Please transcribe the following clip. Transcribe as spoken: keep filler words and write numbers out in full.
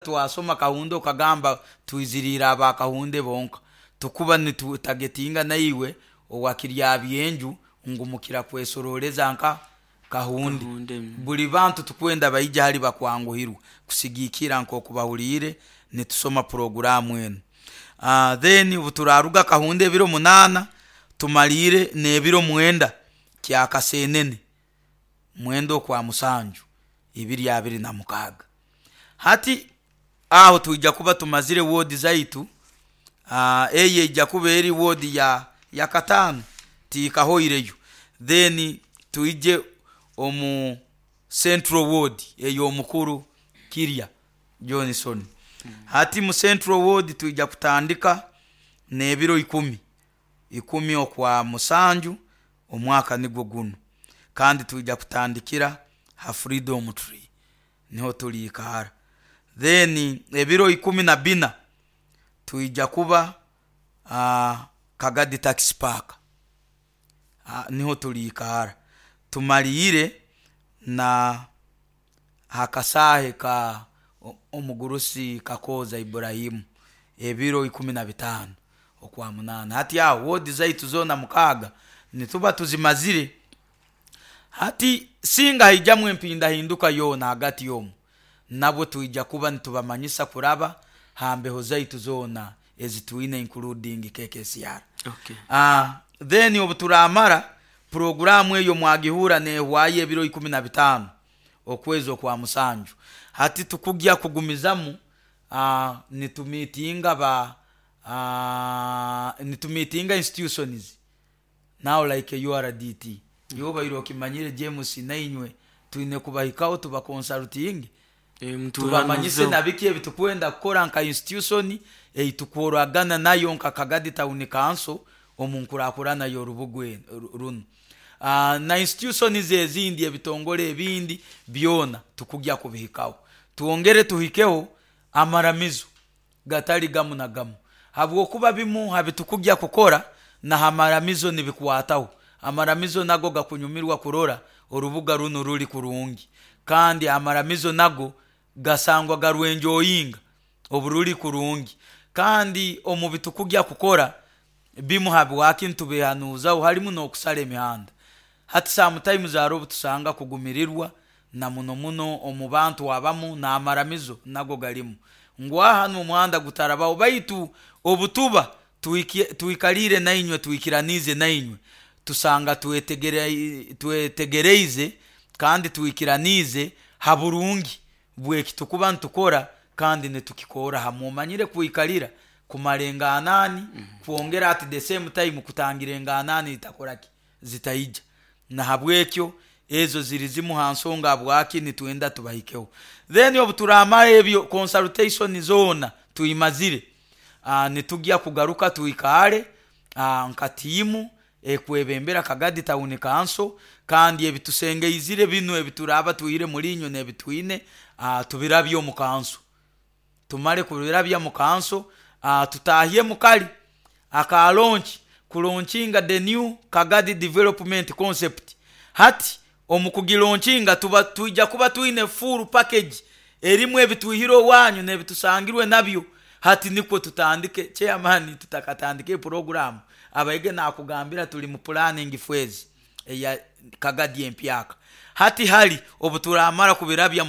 Twasoma Kahunde okagamba twiziriire aba Kahunde bonka, tukuba nitutagetinga naiwe owakirya byenju ngu mukira kwesoroleza nka Kahunde. Kahunde. Buli bantu tukwenda baija hali bakwanguhirwa kusigikira nk'oku bahuliire nitusoma puroguramu enu. uh, then obu turaruga Kahunde ebiro munaana, tumaliire n'ebiro mwenda kyakasenene, mwenda okwa musanju ibiri abiri na mukaaga. Hati aho twija kuba tumazire woodi zaitu. uh, eyo ejja kuba eri woodi ya ya kataano, tiikahoireyo. Then twije omu Central Ward ey'omukuru Kirya Johnson. Hati mu Central Ward twija kutandika n'ebiro ikumi, ikumi okwa musanju omwaka nigwo gunu, kandi twija kutandikira ha Freedom Tree, niho tuliikara. Then ebiro ikumi na bina twija kuba uh, Kagadi Taxi Park, uh, niho tuliikara. Tumaliire na hakasaahe ka omugurusi Kakooza Iburahimu ebiro ikumi na bitaano okwa munaana. Hati aho woodi zaitu zoona mukaaga nituba tuzimazire. Hati singa haijamu empindahinduka yoona hagati omu, nabwo twija kuba nitubamanyisa kuraba ha mbeho zaitu zoona ezitwine, including K K C R. Okay. uh, then obu turamara puroguramu eyo mwagihura nehwayo ebiro ikumi na bitaano okwezi okwa musanju. Hati tukugya kugumizamu uh, nitumitinga ba uh, nitumitinga institutions now like U R D T. Yobaire okimanyire James, nainywe twine kubahikaho tubaconsulting, Eh, tubamanyise na biki ebitukwenda kukora nka institution eitukoragana nayo nka Kagadi Town Council omu nkurakurana y'orubuga runo, uh, na institutions ezindi, ebitongole ebindi byona tukugya kubihikaho. Twongere tuhikeho amaramizo gatali gamu na gamu, habwokuba bimu habitukugya kukora na hamaramizo nibikwataho. Amaramizo nago gakunyumirwa kurora orubuga runo ruli kurungi, kandi amaramizo nago gasangwa garwenjoyinga oburuli kurungi. Kandi omu bitukugya kukora bimu habwaki nitubihanuzaho halimu n'okusara emihanda. Hati sometimes hariho obu tusanga kugumirirwa na muno muno omu bantu abamu, n'amaramizo nago galimu ngu aha omuhanda gutarabaho. Baitu obutuba tuikalire nainywe, twikiranize nainywe, tusanga twetegereize kandi twikiranize ha burungi bweki tukuba nitukora, kandi nitukikora hamwe. Omanyire kwikalira kumara enganani, kwongera at the same time kutangira enganani itakoraki zitaija. Nahabwekyo ezo ziri zimu ha nsonga habwaki nitwenda tubahikeho. Then obu turamara ebyo, consultation zoona tuimazire, uh, nitugya kugaruka twikale uh, nka tiimu ekwebembera Kagadi Town Council, kandi ebitusengeizire binu ebituraba twire mulinywe n'ebitwine, uh, tubirabye omu council. Tumale kubirabya mu council, uh, tutahye mukali aka launch, kulaunchinga the new Kagadi development concept. Hati omu kugilaunchinga tuba twija kuba twine full package erimu ebitwihire owanyu n'ebitusangirwe nabyo. Hati nikwo tutandike. Chairman, tutakatandike program, abaige nakugambira tuli mu planning phase eya Kagadi empyaka. Hati hali obu turamara kubirabya.